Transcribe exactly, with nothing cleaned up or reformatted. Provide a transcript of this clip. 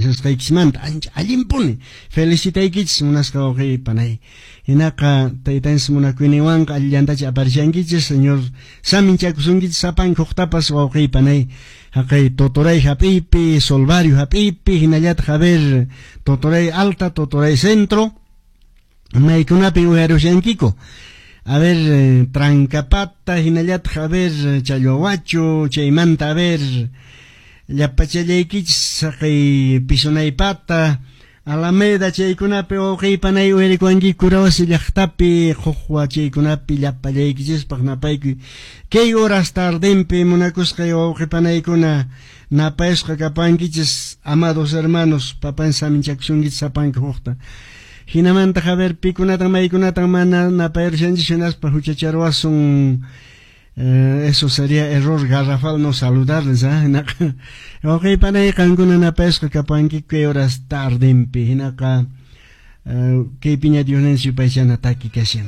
Kashasqaykichismanta ancha allinpuni felicitaykichis munasqa wawqiy panay. Hinaqa taytanchis munakuyninwanqa allillantacha aparishankichis, Señor saminchakusunkichis sapanka huktapas wawqiy panay. Haqay Totoray hap'iypi, Solvario hap'iypi, hinallataq a ver Totoray Alta, Totoray Centro, maykunapin uyarushankiku. A ver, eh, Trancapata, hinallataq a ver Challwawachu, chaymanta a ver llapachallaykichis haqay Pisunaypata, Alameda chaykunapi wawqiy panay uyarikuwankiku Kurawasi llaqtapi Qhuqwa chaykunapi llapallaykichispaq napaykuy. Kay horas tardenpi munakusqay wawqi panaykuna napayasqa kapankichis, amados hermanos, papan saminchakusunkichis sapanka hukta. Hinamanta a ver pikunatan maykunatan mana napayarushanchis hinaspa huchacharuwasun. Eh, eso sería error garrafal no saludarles, ¿ah? Hinaqa wawqi panay qankuna napayasqa kapankiku kay horas tardenpi. Hinaqa eh, kaypiña Diosninchis yupaychana taki kashan.